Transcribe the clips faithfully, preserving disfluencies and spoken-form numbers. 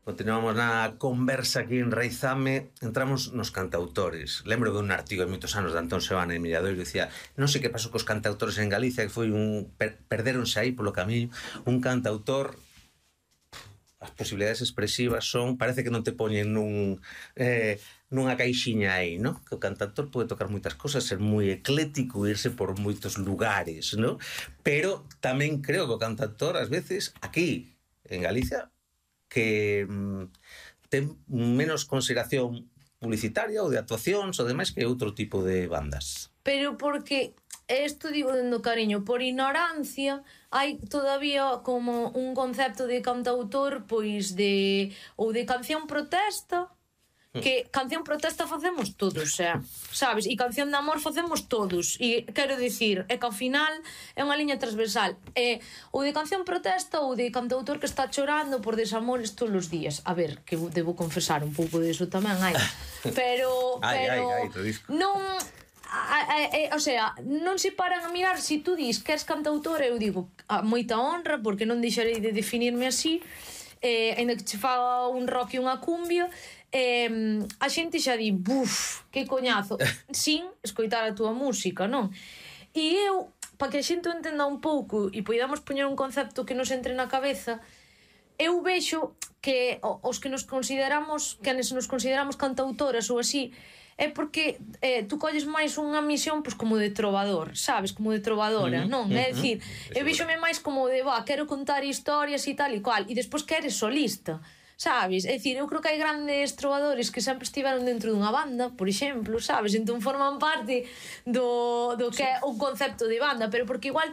Continuamos na conversa aquí en Raizame. Entramos nos cantautores. Lembro de un artigo de moitos anos de Antón Sebana e Milladoiro, dicía, non sei que pasou cos cantautores en Galicia, que foi un... Per, perderonse aí polo camiño. Un cantautor, as posibilidades expresivas son, parece que non te poñen nun eh, nunha caixiña aí, ¿no? Que o cantautor pode tocar moitas cosas, ser moi eclético, irse por moitos lugares, ¿no? Pero tamén creo que o cantautor, ás veces, aquí en Galicia, que mm, ten menos consideración publicitaria ou de actuacións ou demais que outro tipo de bandas. Pero porque, isto digo dendo cariño, por ignorancia hai todavía como un concepto de cantautor, pois de, ou de canción protesta, que canción protesta facemos todos, xa, sabes? E canción de amor facemos todos. E quero dicir, é que ao final é unha liña transversal. É ou de canción protesta ou de cantautor que está chorando por desamores todos os días. A ver, que debo confesar un pouco disso tamén hai. Pero, pero ai, ai, ai, non... A, a, a, o sea, non se paran a mirar. Se si tú dis que és cantautor, eu digo a moita honra, porque non deixarei de definirme así, eh, ainda que che faga un rock e unha cumbia. Eh, a xente xa di, buf, que coñazo, sin escoitar a túa música, non? E eu, para que a xente o entenda un pouco e podamos poñer un concepto que nos entre na cabeza, eu vexo que os que nos consideramos, que nos consideramos cantautoras ou así, é porque eh, tú colles máis unha misión pois como de trovador, sabes, como de trovadora, uh-huh, non? Uh-huh. É dicir, eu vexome máis como de, va, quero contar historias e tal e cual, e despois que eres solista, sabes? É dicir, eu creo que hai grandes trovadores que sempre estiveron dentro dunha banda, por exemplo, sabes? Entón forman parte do, do que é un concepto de banda, pero porque igual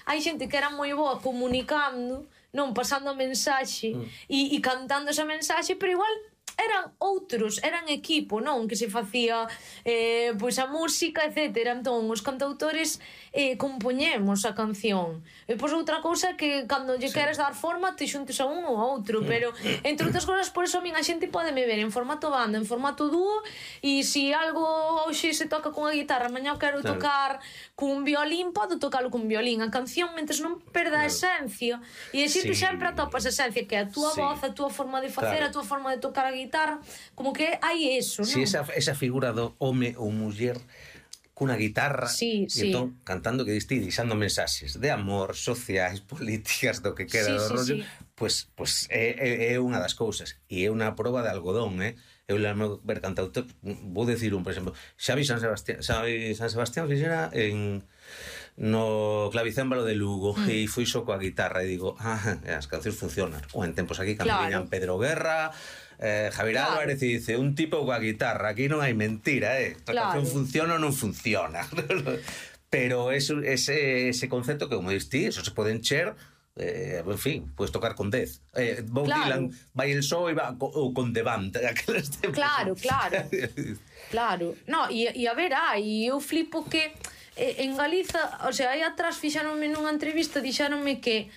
hai xente que era moi boa comunicando, non, pasando a mensaxe mm. e, e cantando esa mensaxe, pero igual eran outros, eran equipo, non? Que se facía eh, pois a música, etcétera. Entón, os cantautores eh, compoñemos a canción. E pois outra cousa que cando lle sí. queres dar forma te xuntes a un ou a outro, pero entre outras cousas, por eso a min a xente pode me ver en formato banda, en formato dúo, e se algo hoxe se toca con a guitarra, mañá quero claro. tocar cun violín, podo tocalo cun violín. A canción, mentres non perda a esencia, e a xente sí. sempre atopas a esencia, que é a túa sí. voz, a túa forma de facer, claro. a túa forma de tocar a guitarra, como que hai eso, non? Si, esa, esa figura do home ou muller cunha guitarra sí, e sí. entón cantando que diste, deixando mensaxes de amor, sociais, políticas, do que queda sí, do sí, rollo, sí. Pois, pois é, é, é unha das cousas e é unha proba de algodón, eh? Eu lembro ver cantautor, vou decir un, por exemplo, Xavi San Sebastián, Xavi San Sebastián fixera en no clavicémbalo de Lugo mm. e fui só coa guitarra e digo, ah, as cancións funcionan. Ou en tempos aquí cando claro. viñan Pedro Guerra, eh, Javier claro. Álvarez e dice, un tipo coa guitarra, aquí non hai mentira, eh? A claro. canción funciona ou non funciona. Pero eso, ese, ese concepto que, como diste, eso se pode encher, eh, en fin, puedes tocar con dez. Eh, Bob claro. Dylan vai el só e va ou con The Band. Claro, claro. Claro. No, e, e a ver, ai, eu flipo que en Galiza, o sea, aí atrás fixáronme nunha entrevista, dixáronme que